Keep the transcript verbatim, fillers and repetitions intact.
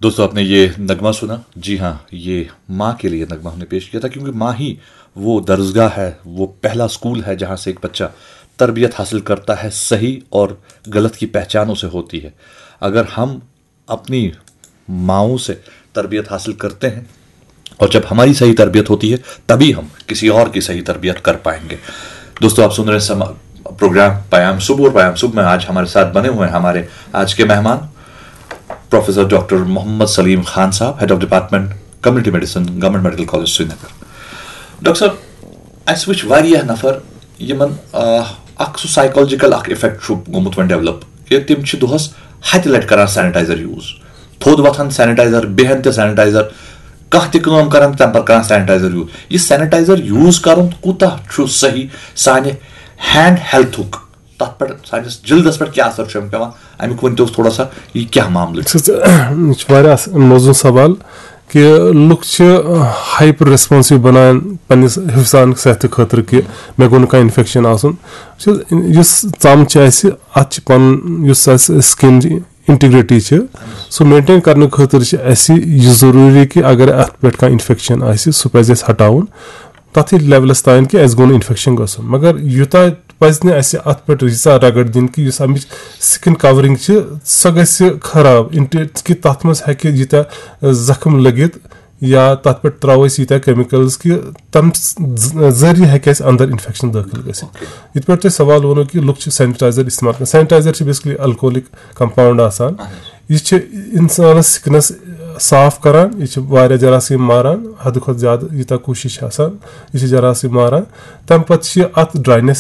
दोस्तों, आपने ये नगमा सुना। जी हाँ, ये माँ के लिए नगमा हमने पेश किया था, क्योंकि माँ ही वो दरसगाह है, वो पहला स्कूल है, जहाँ से एक बच्चा तरबियत हासिल करता है, सही और गलत की पहचान उसे होती है। अगर हम अपनी माओं से तरबियत हासिल करते हैं, और जब हमारी सही तरबियत होती है, तभी हम किसी और की सही तरबियत कर पाएंगे। दोस्तों, आप सुन रहे हैं प्रोग्राम पयाम सुब, और पयाम सुब में आज हमारे साथ बने हुए हैं हमारे आज के मेहमान प्रोफेसर डॉक्टर मोहम्मद सलीम खान साहब, head of department community medicine, government medical college Srinagar. Doctor साहब, اَسہِ وٕچھ واریاہ نفر یِمن آ، اکھ سُہ سائیکالجیکل اکھ افیکٹ چھُ گوٚمُت وۄنۍ ڈیولپ، کہِ تِم چھِ دۄہس ہتہِ لٹہِ کران سینیٹائزر یوز، تھوٚد وۄتھان سینیٹائزر، بیہن تہِ سینیٹائزر، کانٛہہ تہِ کٲم کران تمہِ پتہٕ کران سینیٹائزر یوز۔ یہِ سینیٹائزر یوز کرُن کوٗتاہ چھُ صحیح سانہِ ہینڈ ہیلتھُک، تتھ پٮ۪ٹھ سٲنِس جلدس پٮ۪ٹھ کیٛاہ اثر چھُ اَمیُک پٮ۪وان، اَمیُک ؤنۍ تو تھوڑا سا، یہِ کیٛاہ معاملہٕ چھُ؟ چھِ یہِ چھُ واریاہ اَص- موزوٗن سوال، کہِ لُکھ چھِ ہایپر ریسپانسو بنان پننِس حفظان صحتہٕ خٲطرٕ، کہِ مےٚ گوٚو نہٕ کانٛہہ انفیکشن آسُن۔ وٕچھ حظ، یُس ژم چھِ اَسہِ، اَتھ چھِ پنُن، یُس اَسہِ سکن انٹیگریٹی چھِ، سُہ مینٹین کرنہٕ خٲطرٕ چھِ اَسہِ یہِ ضروٗری کہِ اگر اَتھ پٮ۪ٹھ کانٛہہ انفیکشن آسہِ، سُہ پزِ اَسہِ ہٹاوُن۔ تَتھٕے لیولس تام کہِ اَسہِ گوٚو نہٕ انفیکشن گژھُن، مگر یوٗتاہ پزِ نہٕ اَسہِ اَتھ پٮ۪ٹھ ییٖژاہ رگڑ دِنۍ کہِ یُس اَمِچ سکن کورنگ چھِ، سۄ گژھِ خراب، انٹے- کہِ تَتھ منٛز ہیٚکہِ ییٖتیٛاہ زخم لٔگِتھ یا تَتھ پٮ۪ٹھ ترٛاوو أسۍ ییٖتیٛاہ کیمِکلز کہِ تَمہِ ذ- ذٔریعہٕ ہیٚکہِ اَسہِ اندر انفیکشن دٲخل گٔژھِتھ۔ یِتھ پٲٹھۍ تۄہہِ سوال ووٚنوُ کہِ لُکھ چھِ سینیٹایزر استعمال کران۔ سینیٹایزر چھِ بیسکلی الکوہلک کمپاؤنڈ آسان۔ یہِ چھِ انسانس سکنس صاف کران، یہِ چھِ واریاہ جراثیم ماران، حدٕ کھۄتہٕ زیادٕ ییٖتیٛاہ کوٗشش چھِ آسان، یہِ چھِ جراثیم ماران۔ تَمہِ پتہٕ چھِ اَتھ ڈراینس